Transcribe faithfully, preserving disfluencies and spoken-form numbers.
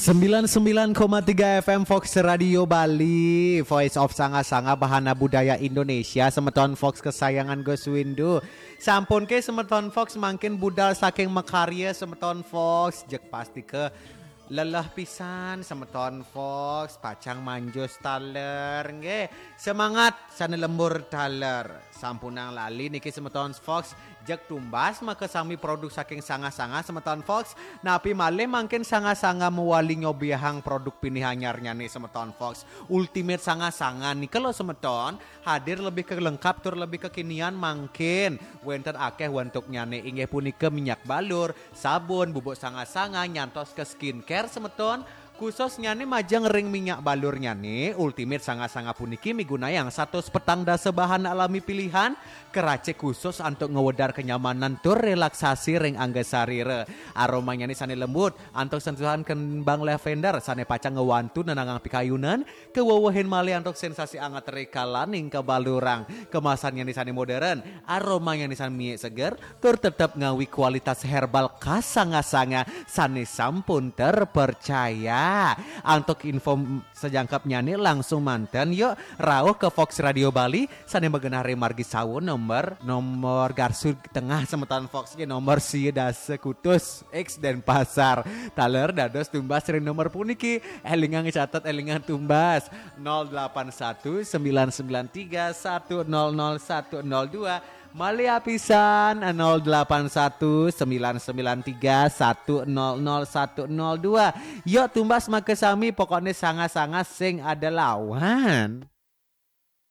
Sembilan sembilan koma tiga F M Fox Radio Bali, Voice of Sanga-Sanga, Bahana Budaya Indonesia, semeton Fox kesayangan Gus Windu. Sampun ke semeton Fox mangkin budal saking makarya semeton Fox, jeg pasti ke leleh pisan semeton Fox, pacang manjus taler, nggih. Semangat sane lembur taler. Sampunang lali niki semeton Fox, jeg tumbas makasami produk saking Sanga-Sanga semeton Fox. Napi malih mangkin Sanga-Sanga mawali nyobiahang produk pinih anyarnyane semeton Fox. Ultimate Sanga-Sanga nika lo semeton, hadir lebih ke lengkap tur lebih kekinian mangkin. Wenten akeh wentuknyane inggih punika minyak balur, sabun, bubuk Sanga-Sanga, nyantos ke skincare semeton. Khususnyane majeng ring minyak balurnyane, Ultimate Sanga-Sanga puniki migunayang satus petang dasa bahan alami pilihan, keracik khusus antuk ngwedar kenyamanan tur relaksasi ring angga sarira. Aromanyane sane lembut, antuk sentuhan kembang lavender sane pacang ngwantu nenangang pikayunan, kawewehin malih antuk sensasi anget rikalaning kabalurang. Kemasannyane sane modern, aromanyane sane miik seger, tur tetep ngawi kualitas herbal khas Sanga-Sanga sane sampun terpercaya. Antuk info sajangkepnyane langsung manten, yuk rauh ke Fox Radio Bali sane magenah ring Margi Sawo, nomor, nomor garsu tengah semeton Fox nggih, nomor sia dasa kutus X Denpasar. Taler dados tumbas ring nomor puniki. Elingang catet, elingang tumbas. Nol delapan satu sembilan sembilan tiga satu nol nol satu nol dua. Malih apisan, nol delapan satu sembilan sembilan tiga satu nol nol satu nol dua. Yuk tumbas makasami, pokokne Sanga-Sanga sing ada lawan.